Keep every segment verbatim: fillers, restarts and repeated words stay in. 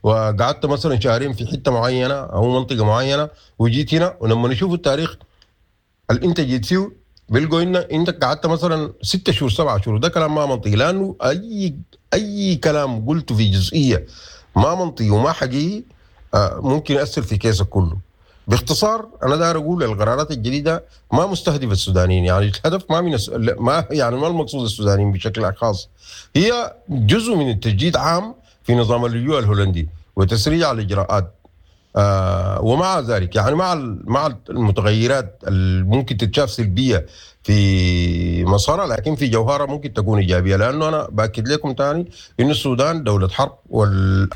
وقعدت مثلا شهرين في حتة معينة او منطقة معينة وجيت هنا، ولما نشوف التاريخ اللي انت جيت فيه بيلقوا ان انت قعدت مثلا ستة شهور سبعة شهور. ده كلام ما منطقي، لانه اي اي كلام قلته في جزئية ما منطقي وما حقيقي ممكن ياثر في كيسك كله. باختصار انا داير اقول القرارات الجديدة ما مستهدفه السودانيين، يعني الهدف ما من ما يعني ما المقصود السودانيين بشكل خاص، هي جزء من التجديد عام في نظام اللجوء الهولندي وتسريع الاجراءات. آه ومع ذلك يعني مع مع المتغيرات اللي ممكن تتشاف سلبية في مسارها، لكن في جوهرها ممكن تكون ايجابية، لانه انا باكد لكم ثاني انه السودان دولة حرب. وال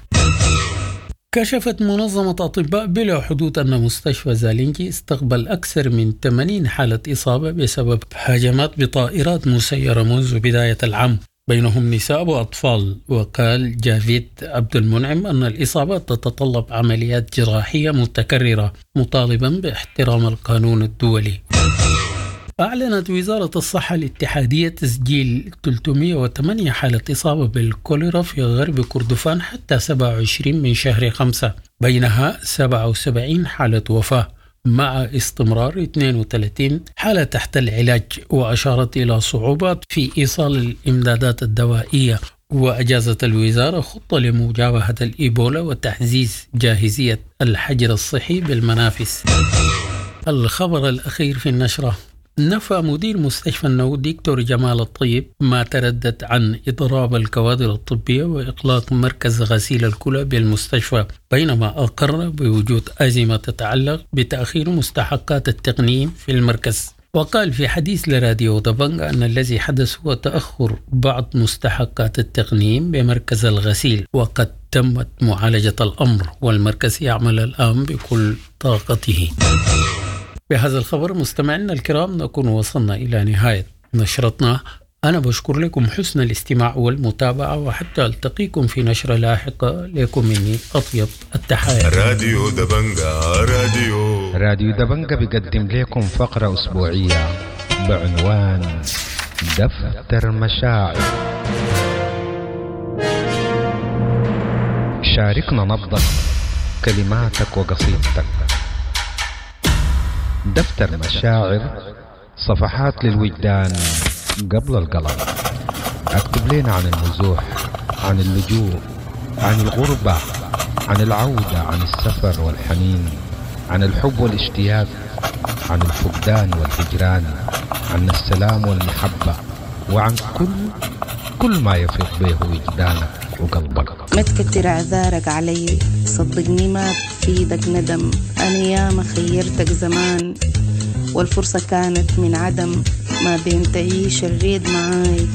كشفت منظمة أطباء بلا حدود أن مستشفى زالينجي استقبل أكثر من ثمانين حالة إصابة بسبب هجمات بطائرات مسيرة منذ بداية العام، بينهم نساء وأطفال. وقال جافيد عبد المنعم أن الإصابات تتطلب عمليات جراحية متكررة، مطالبا باحترام القانون الدولي. أعلنت وزارة الصحة الاتحادية تسجيل ثلاثمئة وثمانية حالة إصابة بالكوليرا في غرب كردفان حتى سبعة وعشرين من شهر خمسة، بينها سبعة وسبعين حالة وفاة مع استمرار اثنين وثلاثين حالة تحت العلاج. وأشارت إلى صعوبات في إيصال الإمدادات الدوائية. وأجازت الوزارة خطة لمجابهة الإيبولا وتعزيز جاهزية الحجر الصحي بالمنافس. الخبر الأخير في النشرة: نفى مدير مستشفى النو دكتور جمال الطيب ما تردد عن إضراب الكوادر الطبية وإغلاق مركز غسيل الكلى بالمستشفى، بينما أقر بوجود أزمة تتعلق بتأخير مستحقات التقنيين في المركز. وقال في حديث لراديو دبنجا أن الذي حدث هو تأخر بعض مستحقات التقنيين بمركز الغسيل، وقد تمت معالجة الأمر والمركز يعمل الآن بكل طاقته. بهذا الخبر مستمعينا الكرام نكون وصلنا إلى نهاية نشرتنا. أنا بشكر لكم حسن الاستماع والمتابعة، وحتى ألتقيكم في نشرة لاحقة. لكم مني أطيب التحايا. راديو دبنجا، راديو راديو دبنجا بيقدم لكم فقرة أسبوعية بعنوان دفتر مشاعر. شاركنا نبضك، كلماتك وقصيدتك. دفتر مشاعر، صفحات للوجدان قبل القلم. اكتب لنا عن النزوح، عن اللجوء، عن الغربة، عن العودة، عن السفر والحنين، عن الحب والاشتياق، عن الفقدان والهجران، عن السلام والمحبة، وعن كل كل ما يفيض به وجدانك وقلبك. ما تكتر اعذارك علي، صدقني ما بفيدك ندم. انا ياما خيرتك زمان والفرصة كانت من عدم. ما بين تعيش الريد معاي،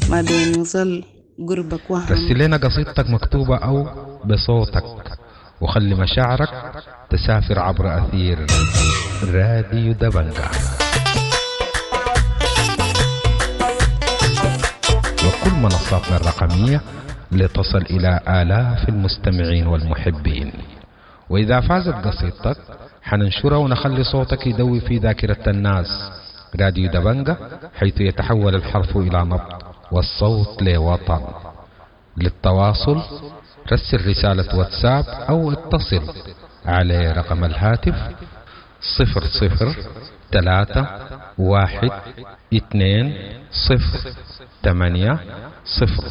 ما بين يظل قربك وهم. رسل لنا قصيدتك مكتوبة أو بصوتك، وخلي مشاعرك تسافر عبر أثير راديو دبنجا وكل منصاتنا الرقمية لتصل إلى آلاف المستمعين والمحبين. وإذا فازت قصيدتك حننشرها ونخلي صوتك يدوي في ذاكرة الناس. راديو دبنجا، حيث يتحول الحرف إلى نبض والصوت لوطن. للتواصل رسل رسالة واتساب أو اتصل على رقم الهاتف صفر صفر ثلاثة واحد اثنين صفر ثمانية صفر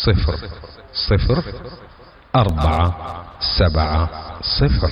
صفر صفر أربعة سبعة صفر.